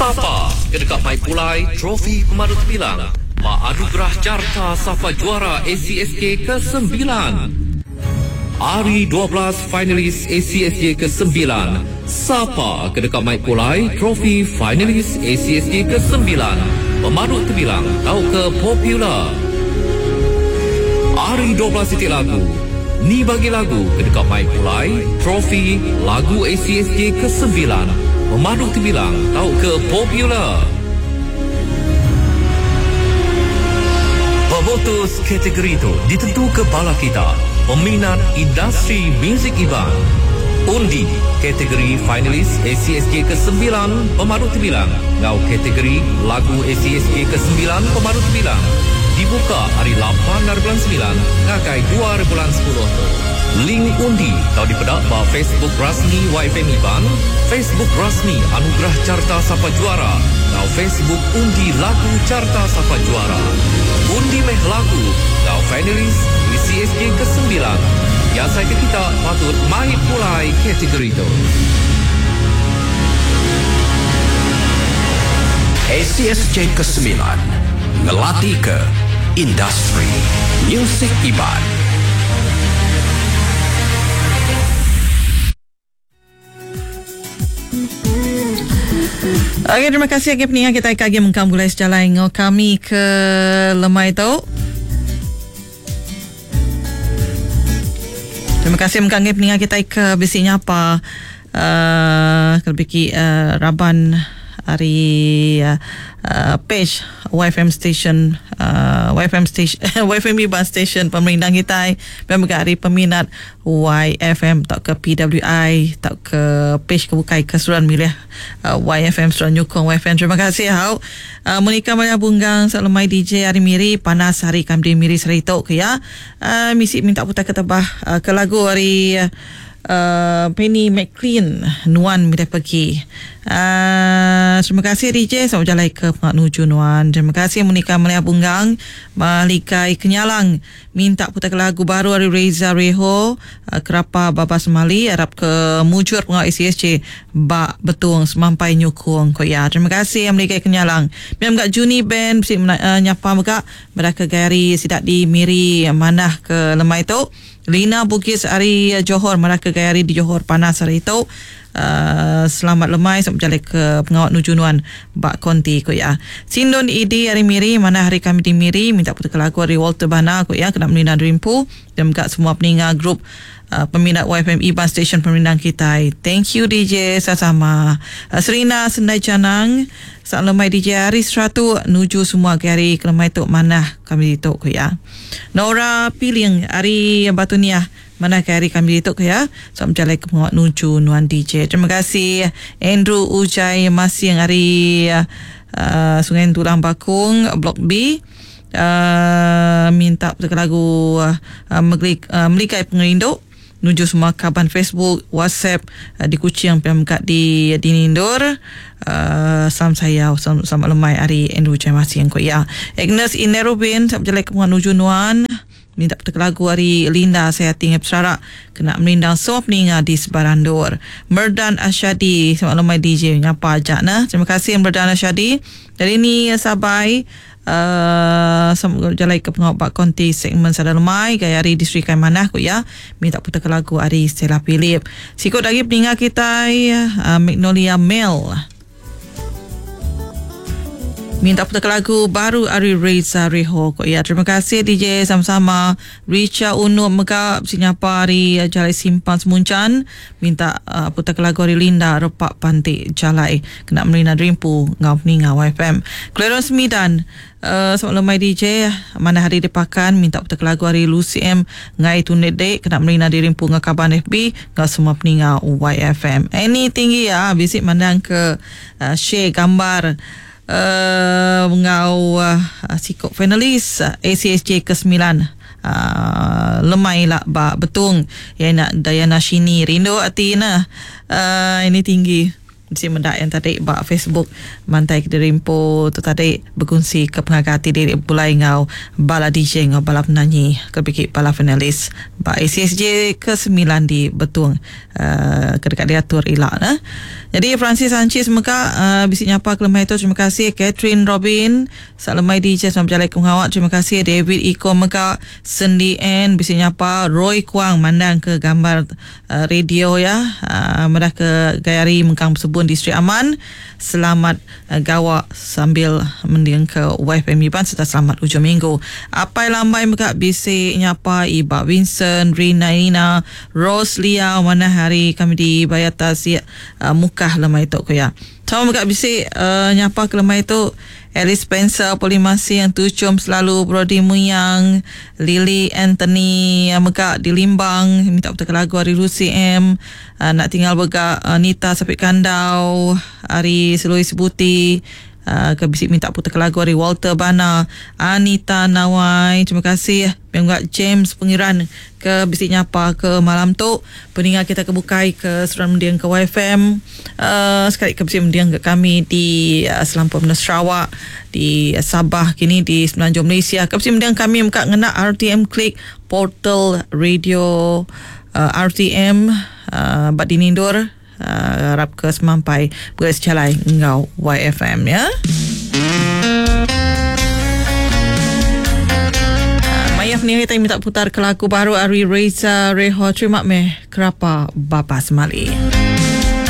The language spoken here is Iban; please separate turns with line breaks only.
Sapa ke deka mai pulai trofi pemadu tebilang ba Anugerah Carta Sapa Juara ACSJ kesembilan? Ari 12 finalis ACSJ kesembilan, sapa ke deka mai pulai trofi finalis ACSJ kesembilan pemadu tebilang tauka popular? Ari 12 iti lagu, ni bagi lagu ke deka mai pulai trofi lagu ACSJ kesembilan pemadu tebilang tauka popular? Pemutus kategori tu ditentuka bala kita, peminat industri muzik Iban. Undi kategori finalis ACSJ kesembilan pemadu tebilang enggau kategori lagu ACSJ kesembilan pemadu tebilang dibuka ari lapan ari bulan semilan ngagai dua ari bulan sepuluh tu. Link undi tau dipeda ba Facebook rasmi YFM Iban, Facebook rasmi Anugerah Carta Sapa Juara enggau Facebook Undi Lagu Carta Sapa Juara. Undi meh lagu enggau finalis ACSJ kesembilan. Diasaika kita patut mai pulai kategori tu.
ACSJ kesembilan ngelatika industri musik Iban.
Okey, terima kasih agi peninga kita ke agi mengkang begulai sejalai enggau kami ke lemai tu. Terima kasih mengkang agi peninga kita ke bisi nyapa uh, ke lebih ki uh, raban ari uh, page YFM station uh, YFM station YFM Iban station pemerindang kitai dan mega ari peminat YFM tauka PWI tauka page ke bukai ke seruran milih uh, YFM seruran nyukung YFM. Terima kasih hau. Uh, Monica Maria Bunggang Salamai DJ hari Miri panas hari kami di Miri sehari tu ke ya. Uh, misi minta putar ke tebah uh, ke lagu hari uh, Penny McLean Nuan Milih Pergi. Uh, terima kasih DJ selamat berjalai ke Pengat Nuju Nuan. Terima kasih Monica Maria Bunggang Malikai Kenyalang minta putar ke lagu baru hari Reza Reho uh, Kerapa Babas Mali harap ke mujur pengawal ACSC bak betung semampai nyukung ko ya. Terima kasih Malikai Kenyalang. Biar gak Juni Band mesti uh, nyapa mega mereka gari sidak di Miri manah ke lemai tu. Lina Bugis hari Johor marah ke gaya hari di Johor panas hari itu. Selamat lemai selamat berjalan ke pengawal nuju nuan bak konti ko ya. Sindon ID hari Miri mana hari kami di Miri minta putar lagu hari Walter Bana ko ya kena melina Dreampu dan juga semua peninga grup peminat YFM Iban Station pemerindang kita. Thank you DJ sama-sama. Serina Sendai Canang Selamat lemai DJ hari Seratu nuju semua ke hari kelemai tu manah kami tu ko ya. Nora Piling hari Batu Niah mana ke hari kami tu ke ya. Selamat berjalan ke pengawal nuju nuan DJ. Terima kasih Andrew Ujai Masing hari Sungai Tulang Bakung Blok B. Minta lagu Melikai Pengerindu nuju semua kaban Facebook, WhatsApp di Kuching PMK di Nindur. Salam saya, selamat lemai hari Andrew Ujai Masing ko ya. Agnes Inerubin selamat berjalan ke pengawal nuju nuan. Minta putar lagu hari Linda saya tinggal berserak kena melindang semua peninga di Sebarandur. Merdan Asyadi selamat lemai DJ ngapa ajak nah. Terima kasih Merdan Asyadi. Dari ini Sabai selamat berjalan ke pengawal bak konti segmen Sada Lemai gaya hari di Sri Manah ku ya. Minta putar lagu hari Stella Philip. Sikut lagi peninga kita Magnolia Mel. Minta putar lagu baru ari Reza Reho ko ya. Terima kasih DJ sama-sama. Richa Uno mega sinyapa ari Jalai Simpang Semuncan minta putar lagu ari Linda Repak Pantik Jalai kena melina Dreampu ngau peninga YFM. Clarence Midan selamat lemai DJ mana hari dipakan minta putar lagu ari Lucy M ngai tunit dek kena melina Dreampu ngau kaban FB ngau semua peninga YFM. Ini tinggi ya bisik mandang ke share gambar ngau sikok finalis ACSJ ke-9 lemai lah ba betung ya nak Dayana Shini rindu ati nah ini tinggi. Bisi meda yang tadi ba Facebook mantai ke diri empu tu tadi bekunsi ke pengaga ati diri begulai enggau bala DJ enggau bala penanyi ke bigi bala finalis ba ACSJ ke semilan di Betong uh, ke deka diatur ila ne. Jadi Francis Sanchez mega uh, bisi nyapa ke lemai tu terima kasih Catherine Robin Selamat lemai DJ selamat bejalai ke pengawa terima kasih David Iko mega Sendi N bisi nyapa Roy Kuang mandang ke gambar uh, radio ya uh, madah ke gaya hari mengkang besebun di Sri Aman selamat uh, gawa sambil mending ke YFM Iban serta selamat ujung minggu Apai Lambai mega bisi nyapa Iba Vincent Rina Ina Rose Liao manah hari kami di Bayar Tasik uh, Mukah lemai tu ku ya. Sama mega bisi uh, nyapa ke lemai tu Alice Spencer, Poli Masing, Tuchum Selalu, Brody Muyang, Lily Anthony mega di Limbang minta putarka lagu ari Lucy M. Uh, nak tinggal mega uh, Nita Sapit Kandau ari Selui Sebuti uh, ke bisi minta putarka lagu ari Walter Bana, Anita Nawai. Terima kasih. Pia mega James Pengiran ke bisi nyapa ke malam tu peninga kita ke bukai ke seruran mending ke YFM uh, sekali ke bisi mending ke kami di uh, selampur menua Sarawak di uh, Sabah kini di Semenanjung Malaysia ke bisi mending kami meka ngena RTM Click portal radio uh, RTM uh, ba dini endur uh, arap ke semampai begaris jalai enggau YFM ya. Maya ni kita minta putar ke lagu baru ari Reza Reho terima meh kerapa Bapa Semali.